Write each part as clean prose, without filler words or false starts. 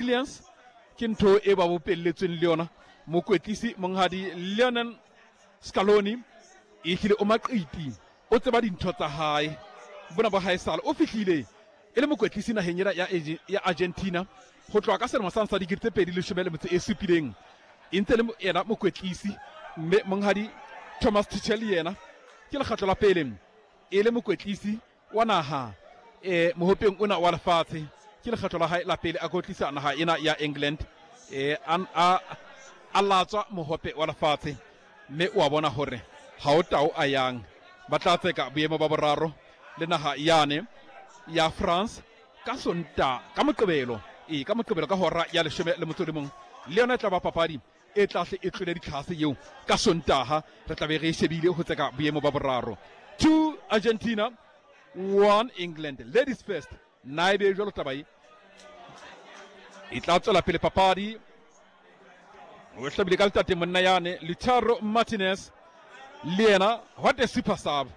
Resilience ke ntho e ba bopelletsweng le yona. Mokwetlisi monghadi Lionel Scaloni e hlile o maqiti, o tseba dintho tsa hae. Bona ba hae sala o fihlile e le mokwetlisi naheng ena ya Argentina ho tloha ka selemo sa 2017, e ntse le yena mokwetlisi. Mme monghadi Thomas Tuchel yena ke lekgetlo la pele e le mokwetlisi wa naha e mohopeng ona wa lefatshe. Ke lekgetlo la hae la pele a kotlisa naha ena ya England e a latswa mohope wa lefatshe, mme o a bona hore ha o tao a yang. Ba tla tseka boemo ba boraro le naha yane ya France ka Sonta, ka Moqebelo, e ka Moqebelo ka hora ya 11, le yona e tla ba papadi e tlahle e tlole ditlhase eo ka Sontaha. Re tla be re e shebile ho tseka boemo ba boraro. 2 Argentina, 1 England. Ladies first, na ebe jwalo taba e e tla tswela pele papadi. O hlabile ka letate monna yane Lautaro Martinez, le yena what a super sub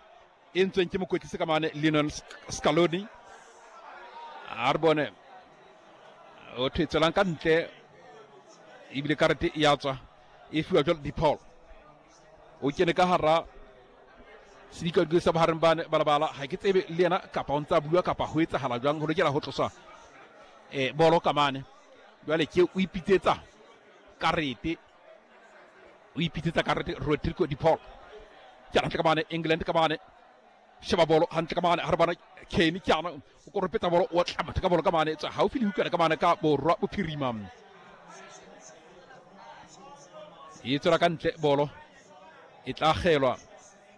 e ntsweng ke mokwetlisi ka mane Lionel Scaloni. A re bone o thwe tswelang ka ntle, ebile karete e ya tswa e fiwa jwalo DePaul. O kene ka hara sedikadiko sa bohareng bane balabala, ha ke tsebe le yena kapa o ntse a bua kapa ho etsahala jwang. Ho lokela ho tloswa bolo ka mane jwale ke o ipitsetsa karete, o ipitsetsa karete Rodrigo de Paul. Ke hantle ka mane England ka mane, sheba bolo hantle ka mane ha re bona Kane ke ana o koropetsa bolo, o tla motho ka bolo ka mane, tswa haufi le hukana ka mane ka borwa bophirima, e tswela ka ntle bolo, e tla kgelwa,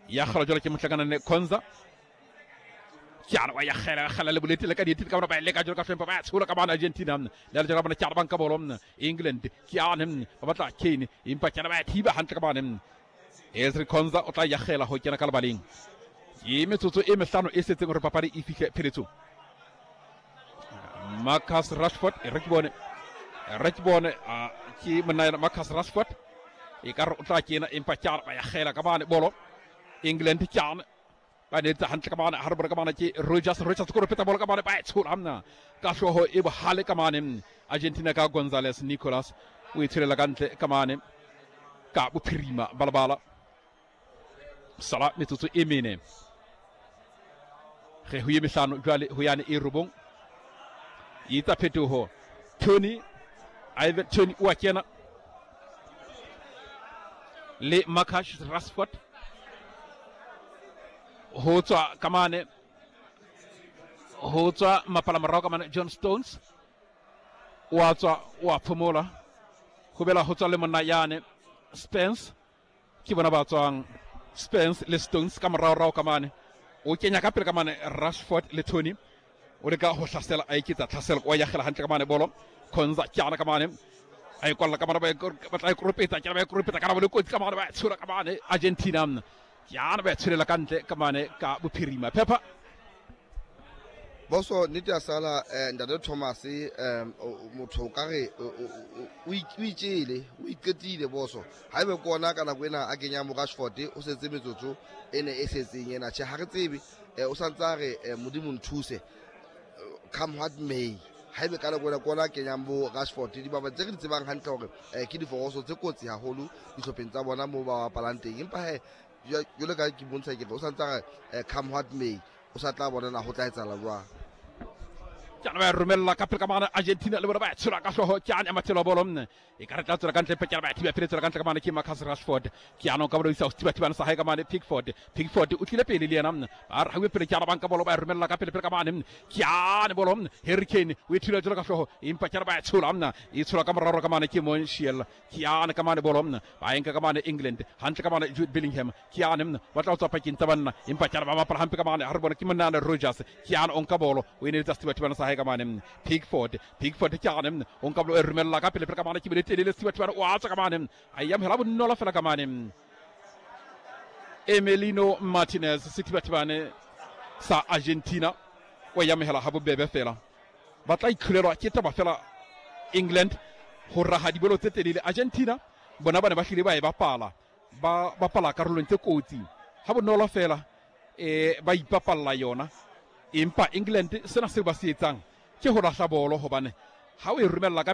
ya kgelwa jwalo ke mohlakanane Konza. Ke ana wa ya kgela, kgela le bolete le ka dietile ka bona, ba leka jwalo ka hlompha, ba tshola ka bana Argentina le le jwalo ka bona. Ke ana banka bolo England, ke ane ba batla Kane, empa ke ana ba thiba hantle ka bana. Ezri Konza o tla yagela ho kena ka lebaleng. Ke metsotso e mehlano e setseng hore papadi e fihle pheletsong. Marcus Rashford, e re ke bone, re ke bone ke monna yena Marcus Rashford, e ka re o tla kena, empa ke ba yagela ka bane bolo England. Ke ane ba ne etsa hantle ka mane ha re bone ka mane ke Rogers, Rogers ko repetsa bolo ka mane, ba e tshola mna ka hlooho e bohale ka mane Argentina ka Gonzales Nicolas, o e tsholela ka ntle ka mane ka bophirima balabala. Sala metsotso e mene ge ho ye mehlano jwale ho yane e robong. E etsa phetoho Tony, Ivan Tony o a kena le Marcus Rashford ho tswa ka mane, ho tswa mapala morao ka mane John Stones o a tswa, o a phomola, ho bela ho tswa le monna yane Spence. Ke bona ba tswang Spence le Stones ka moraorao ka mane. O kenya ka pele ka mane Rashford le Tony, o leka ho hlasela, a eketsa tlhaselo, o yagela hantle ka mane bolo Konza. Ke ana ka mane a e kwalla ka mane, ba tla e koropetsa, ke ba e koropetsa ka bolo kotsi ka mane, ba e tshola ka mane Argentina. Ke ana ba e tsholela ka ntle ka mane ka bophirima phepha. Boso nnete ya sala ntate Thomas, motho o ka re o itjele, o iqetile boso. Ha ebe ke ona ka nako ena a kenyang bo Rashford, o setse metsotso e ne e setseng ena. Tjhe, ha re tsebe, o santse a re Modimo nthuse, come what may. Ha ebe ka nako ena ke ona a kenyang bo Rashford, dibapadi tse re di tsebang hantle hore ke diforoso tse kotsi haholo dihlopheng tsa bona moo ba bapalang teng. Empa he jwale ka ke bontsha ke re o santse a re come what may, o sa tla bona na ho tla etsahala jwang. Ke ana ba romella ka pele ka mane Argentina le bona ba tshola ka hlooho. Ke ana mathelo bolo nne e ka re tla tswela ka ntle, ke ana ba thiba pele tswela ka ntle ka mane ke Marcus Rashford. Ke ana ka bolo isa ho thiba thibana sa hae ka mane Pickford, Pickford o tlile pele le yena nne ba re hauwe pele. Ke ana banka bolo ba romella ka pele pele ka mane. Ke ana bolo nne Harry Kane o e thula jwalo ka hlooho, empa ke ana ba tshola nne e tshola ka moraro ka mane ke Montiel. Ke ana ka mane bolo nne ba enka ka mane England hantle ka mane Jude Bellingham. Ke ane mna ba tla tswa pakeng tsa banna, empa ke ba bapala hampe ka mane ha re bona ke monna le Rogers. Ke ane o nka bolo, o eneletsa sethibathibana sa hae ka mane Pickford, Pickford ke ane mna o nka bolo, e romella ka pele pele ka mane ke bile telele, sethibathibana o a tswa ka mane, a e amohela bonolo fela ka mane Emiliano Martinez, sethibathibane sa Argentina, o e amohela ha bobebe fela. Ba tla itlholelwa ke taba fela England ho raha dibolo tse telele. Argentina bona ba ne ba hlile ba e bapala, ba bapala karolong tse kotsi ha bonolo fela, ba ipapalla yona. Empa England sena seo ba se etsang ke ho lahla bolo, hobane Ha o e romella ka pela.